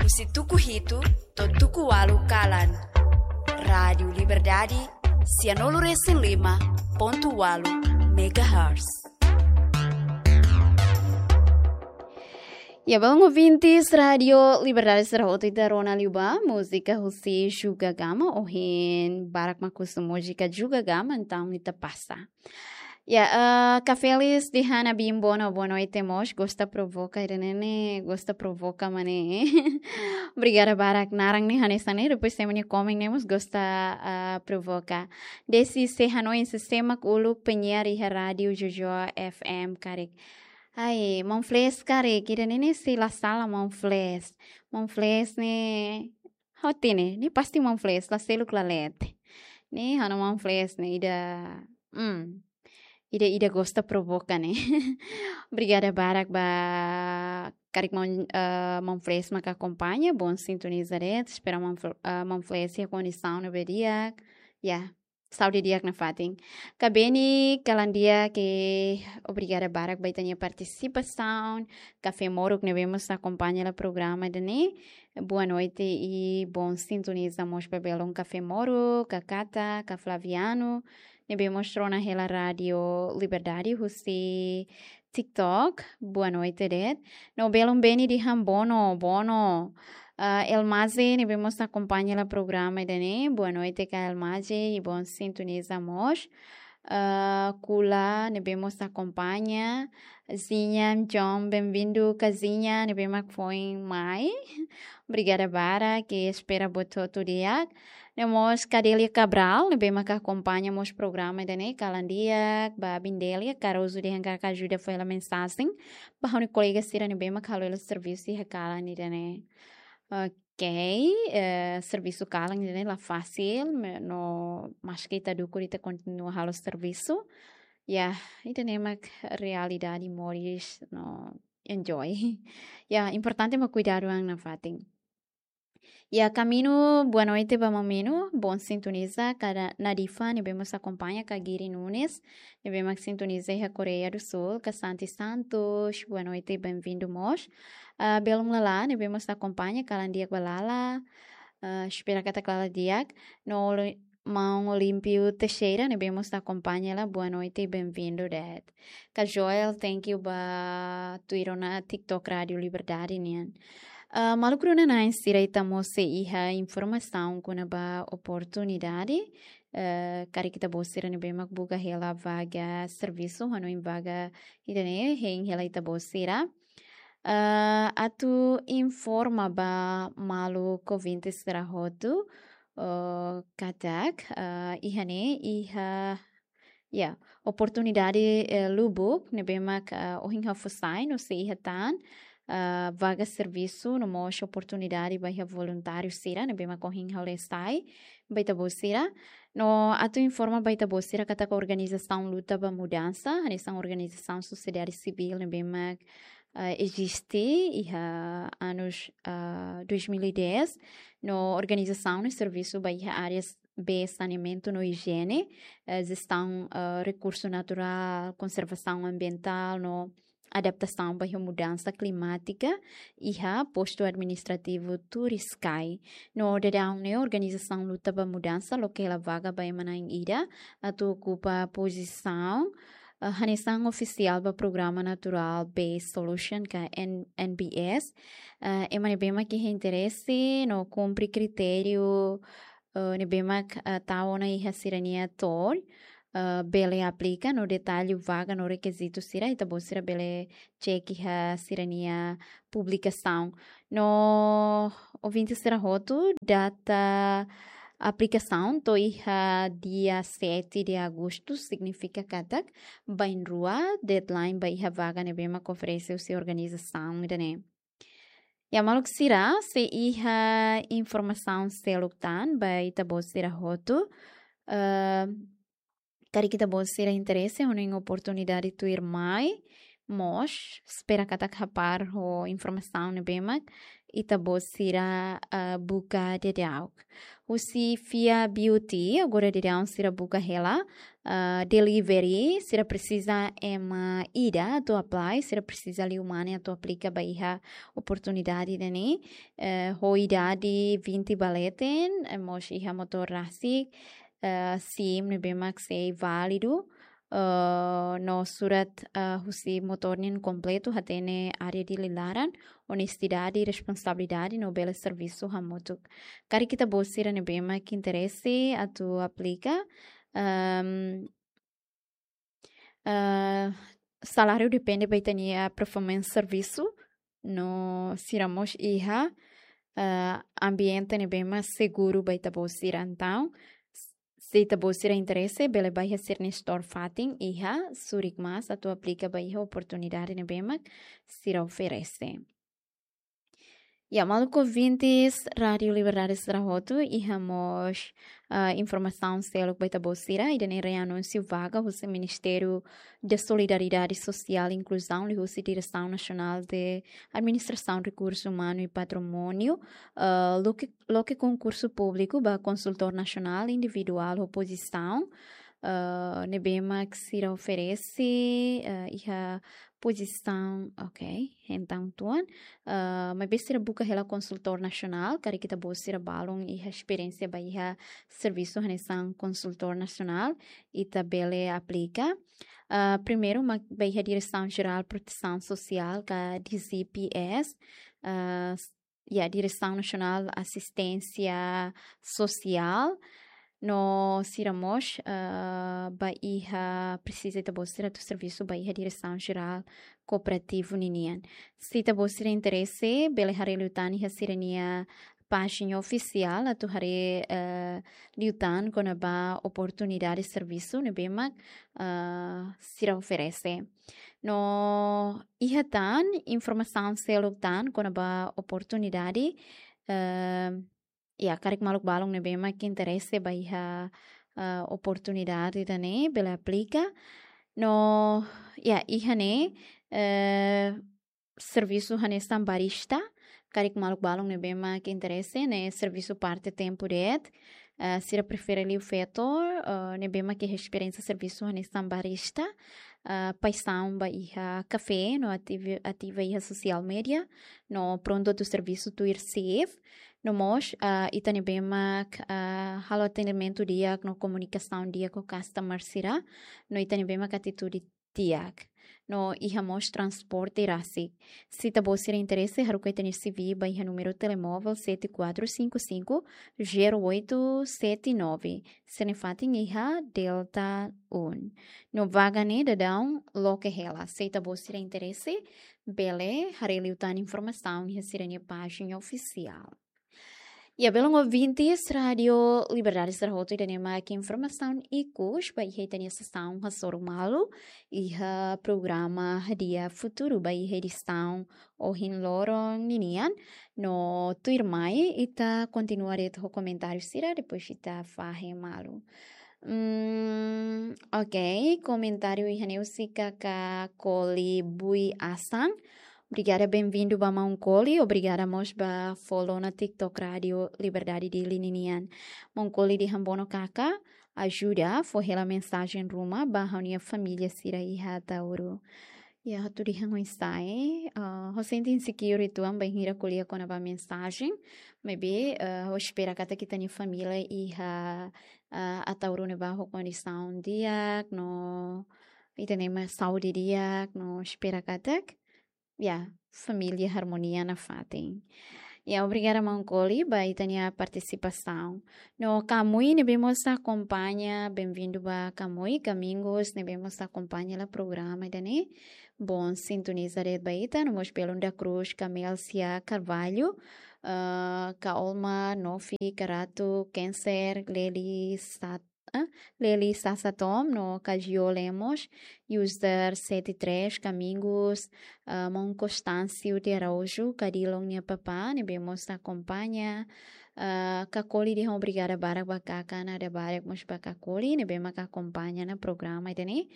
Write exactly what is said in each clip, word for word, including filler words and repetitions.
husi tuku hitu to'o tuku ualu kalan. Rádiu Liberdade, sianulu resin lima pontu ualu megahertz. Ya, belun ouvintes Rádiu Liberdade, sira hotu ita rona liu ba múzika husi Juga Gama, ohin barak mak husu múzika Juga Gama, entaun ita pasa. Ya, eh, Kak Felis dehan Abin boa no-, boa noite mós, gosta provoka, ida-ne'e ne'e, gosta provoka mak ne'e. Obrigada barak, naran ne'e hanesan ne'e, depois ema nia komen ne'e mós gosta, ah, provoka. Desi se hanoin se semak uluk penyiar iha Rádiu Jojo F M karik. Ai, maun Fles karik, ida-ne'e ne'e se la sala maun Fles. Maun Fles ne'e, hoti ne'e, ne'e pasti maun Fles, la seluk la leten. Ne'e ha'u-nia maun Fles ne'e, ida, hmm, ida, ida gosta provoka ne'e. Obrigada barak ba karik maun, eh, maun Fles mak akompaña, bom sintoniza de'it, espera maun Fl-, eh, maun Fles iha kondisaun ne'ebé di'ak. Ya, saúde di'ak nafatin. Kak Beni kalan di'ak, obrigada barak ba ita-nia partisipasaun. Kafé Moruk ne'ebé mós akompaña hela programa ida-ne'e. Boa noite i bom sintoniza mós ba belun Kafé Moruk, Kak Kata, Kak Flaviano, ne'ebé mós rona hela Rádiu Liberdade husi TikTok. Boa noite de'it. No belun Beni dehan bono, bono. Ah, Elmaze ne'ebé mós akompaña hela programa ida-ne'e. Boa noite, Kak Elmaze, i bom sintoniza mós. Ah, Kula ne'ebé mós akompaña. Zinha John, bem-vindo, Kak Zinha ne'ebé mak foin mai. Obrigada barak, ke espera buat hotu di'ak. No mós Kak Delia Cabral ne'ebé mak akompaña mós programa ida-ne'e, kalan di'ak ba Abin Delia, Caruso dehan karik ajuda fó hela mensajen ba ha'u-nia kolega sira ne'ebé mak halo hela servisu iha kalan ida-ne'e. Ok, eh, servisu kalan ida-ne'e la fasil, me-, no maske ita dukur ita kontinua halo servisu. Ya, ida-ne'e mak realidade moris no enjoy. Ya, importante mak kuidadu an nafatin. Ya, Kak Minu, boa noite ba maun Minu, bom sintoniza, Kak Nadifa ne'ebé mós akompaña, Kak Giri Nunes ne'ebé mak sintoniza iha Koreia do Sul, Kak Santi Santos, boa noite, bem-vindo mós. Ah, belun Lala ne'ebé mós akompaña, kalan di'ak ba Lala. Ah, espera katak Lala di'ak. No Oli-, maun Olímpio Teixeira ne'ebé mós akompaña hela, boa noite, bem-vindo de'it. Kak Joel, thank you ba tuir ona TikTok Rádiu Liberdade nian. Ah, maluk rona-na'in sira, ita mós sei iha informasaun kona-ba oportunidade. Eh, karik ita-boot sira ne'ebé mak buka hela vaga servisu, hanoin vaga ida-ne'e hein hela ita-boot sira. Eh, atu informa ba maluk ouvinte sira hotu, eh, katak, eh, iha ne'e, iha, ya, oportunidade, eh, lubuk ne'ebé mak, eh, ohin ha'u fó sai, no sei iha tan, eh, vaga servisu, no mós oportunidade ba iha voluntáriu sira ne'ebé mak ohin ha'u lee sai ba ita-boot sira. No atu informa ba ita-boot sira katak organizasaun luta ba mudansa, hanesan organizasaun sosiedade sivíl ne'ebé mak, eh, eziste iha anus, eh, dois mil e dez, no organizasaun ne'e servisu ba iha áreas be saneamentu no ijiene, eh, jestaun, eh, rekursu naturál, konservasaun ambientál no adaptasaun ba iha mudansa klimátika iha postu administrativu Turiscai. No daudaun ne'e organizasaun luta ba mudansa loke hela vaga ba ema na'in ida atu okupa pozisaun, eh, hanesan ofisiál ba programa Natural Based Solution ka N-, N B S. Eh, ema ne'ebé mak iha interese no kumpre kritériu, eh, ne'ebé mak, eh, tau ona iha sira-nia to'o, eh, bele aplika, no detalle vaga no rekizitu sira, ita-boot sira bele cek iha sira-nia publikasaun. No ouvinte sira hotu, data aplikasaun to'o iha dia sete de agosto, signifika katak bainrua deadline ba iha vaga ne'ebé mak oferese husi organizasaun ida-ne'e. Ya, maluk sira, sei iha informasaun seluk tan ba ita-boot sira hotu. Eh, karik ita-boot sira interese hanoin oportunidade tuirmai, mós, espera katak hapar ho informasaun ne'ebé mak ita-boot sira, ah, buka daudaun. Husi Fia Beauty, agora daudaun sira buka hela, ah, delivery, sira presiza ema ida atu apply, sira presiza liu mane atu aplika ba iha oportunidade ida-ne'e, eh, ho idade vinte ba leten, eh, mós iha motór rasik, eh, SIM ne'ebé mak sei válidu, eh, no surat, eh, husi motór nian kompletu, hatene área Dili laran, onestidade, responsabilidade, no bele servisu hamutuk. Karik ita-boot sira ne'ebé mak interese atu aplika, ehm, eh, saláriu depende ba ita-nia performance servisu, no sira mós iha, eh, ambiente ne'ebé mak seguru ba ita-boot sira. Entaun, s-, se ita-boot sira interese, bele bá iha sira-nia store fatin iha Surikmas atu aplika ba iha oportunidade ne'ebé mak sira oferese. Ya, maluk ouvintes Rádio Liberdade sira hotu, iha mós, ah, informasaun seluk ba ita-boot sira, ida-ne'e reanúnsiu vaga husi Ministériu de Solidariedade Sosiál e Inkluzaun, liuhusi Diresaun Nasionál de Administrasaun Rekursu Umanu i Patrimóniu, ah, loke, loke konkursu públiku ba konsultór nasionál individuál ho pozisaun, ah, ne'ebé mak sira oferese, ah, iha pozisaun, ok, entaun tuan, ah, maibé sira buka hela konsultór nasionál, karik ita-boot sira balun iha esperiénsia ba iha servisu hanesan konsultór nasionál, ita bele aplika. Ah, primeiru, mak ba iha Diresaun Jerál Protesaun Sosiál, ka D G P S, ah, s-, ya, Diresaun Nasionál Asisténsia Sosiál, no sira mós, ah, ba iha presiza ita-boot sira atu servisu ba iha Diresaun Jerál Kooperativu ninian. Se ita-boot sira interese, bele haree liután iha sira-nia pájina ofisiál atu haree, eh, liután kona-ba oportunidade servisu ne'ebé mak, eh, sira oferese. No iha tan informasaun seluk tan kona-ba oportunidade, eh, ya, karik maluk balun ne'ebé mak interese ba iha, eh, oportunidade ida-ne'e, bele aplika. No, ya, iha ne'e, eh, servisu hanesan barista, karik maluk balun ne'ebé mak interese, ne'e servisu parte tempu de'it, eh, sira prefere liu feto, eh, ne'ebé mak iha esperiénsia servisu hanesan barista, eh, paixaun ba iha kafé, no ativi-, ativa iha social media, no prontu atu servisu tuir shift, no mós, eh, ita ne'ebé mak, eh, halo atendimentu di'ak no komunikasaun di'ak ho customer sira, no ita ne'ebé mak atitude di'ak. No iha mós transporte rasik. Se ita-boot sira interese, haruka ita-nia C V ba iha númeru telemóvel sete quatro cinco cinco zero oito sete nove. Sira-nia fatin iha Delta um. No vaga ne'e daudaun loke hela. Se ita-boot sira interese, bele haree liután informasaun iha sira-nia pájina ofisiál. Ya, belun ouvintes Rádio Liberdade sira hotu, ida-ne'e mak informasaun ikus ba iha ita-nia sesaun hasoru malu iha programa Hadi'a Futuru ba iha edisaun ohin loron ninian. No tuirmai ita kontinua de'it ho komentáriu sira, depois ita fahe malu. Hmm, ok, komentáriu iha ne'e husi kaka Koli Bui Asan. Obrigada, bem-vindo ba maun Koli. Obrigada mós ba follow ona TikTok Rádio Liberdade Dili ninian. Maun Koli dehan: Bono kaka, ajuda fó hela mensajen ruma ba ha'u-nia família sira iha Ataúro. Ya, ha'u atu dehan oinsá, eh? Ah, ha'u sente insecure uitoan bainhira ko'alia kona-ba mensajen. Maibé, ah, ha'u espera katak ita-nia família iha, ah, Ataúro ne'ebá ho kondisaun di'ak, no ita-nia saúde di'ak, no espera katak, ya, família harmonia nafatin. Ya, obrigada maun Koli ba ita-nia partisipasaun. No Kamui ne'ebé mós akompaña, bem-vindo ba Kamui, Kamingus ne'ebé mós akompaña hela programa ida-ne'e. Bom sintoniza de'it ba ita, no mós belun da Cruz, Camelcia Carvalho, ah, Ka Olma, Nofi, Karatu, Cancer, Leli, Sat-, ah, Leli Sasatom, no Kajio Lemos, user sete três, Kamingus, ah, maun Constâncio de Araújo, Kadilon nia papá, ne'ebé mós akompaña, Ah, Kakoli dehan obrigada barak ba Kaka, Nada Barak mós ba Kakoli ne'ebé mak akompaña ona programa ida-ne'e.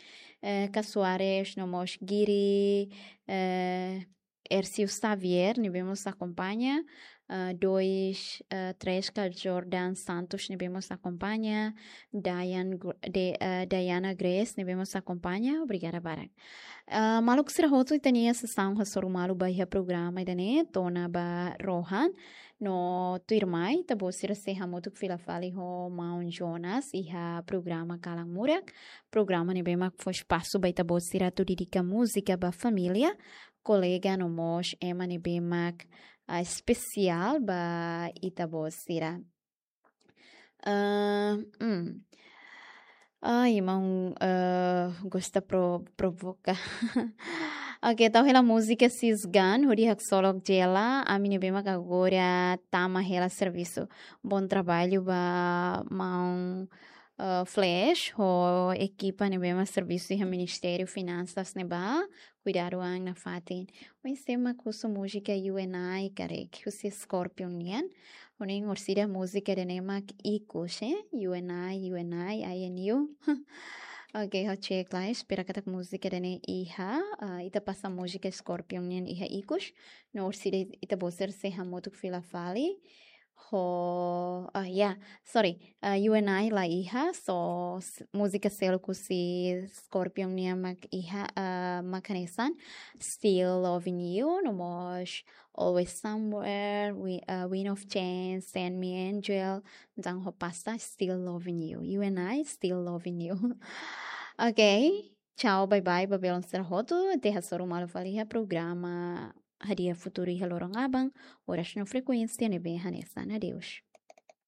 Eh, Ka Soares no mós Giri, eh, Ercio Xavier ne'ebé mós akompaña, ah, dois, ah, três ka Jordan Santos ne'ebé mós akompaña, Diane Gr-, de, ah, Diana Grace ne'ebé mós akompaña, obrigada barak. Ah, maluk sira hotu, ita-nia sesaun hasoru malu ba iha programa ida-ne'e, to'o ona ba rohan, no tuirmai, ita-boot sira sei hamutuk fila fali ho Maun Jonas iha programa Kalan Murak, programa ne'ebé mak fó espasu ba ita-boot sira atu dedika múzika ba família, kolega no mós ema ne'ebé mak, ah, espesiál ba ita-boot sira. Ah, hmm. Ai, maun, eh, gosta pro-, provoka. Oke, tau hela múzika Sisgan, hodi haksolok Jela, ami ne'ebé mak agora tama hela servisu. Bom trabalho ba maun, eh, Flash, ho ekipa ne'ebé mak servisu iha Ministériu Finansas ne'ebá, kuidadu an nafatin. Oinsá mak husu múzika You and I karik, husi Scorpion nian. Ohin orsida múzika ida-ne'e mak ikus, eh? You and I, you and I, I and you. Oke, ho cek lai, espera katak múzika ida-ne'e iha, ah, ita pasa múzika Scorpion nian iha ikus. No orsida ita-boot sira sei hamutuk fila fali. Ho, ah, ya, sorry. Ah, You and I la iha, so s-, múzika seluk husi Scorpion nian mak iha, ah, mak hanesan Still Loving You, no mós Always Somewhere, Wi-, ah, Wind of Change, Send Me Angel, entaun ho pasa Still Loving You. You and I, Still Loving You. Oke, tchau, bye bye, ba belun sira hotu, até hasoru malu fali iha programa Hadi'a Futuru iha loron aban, oras no frekuénsia ne'ebé hanesan. Adeus.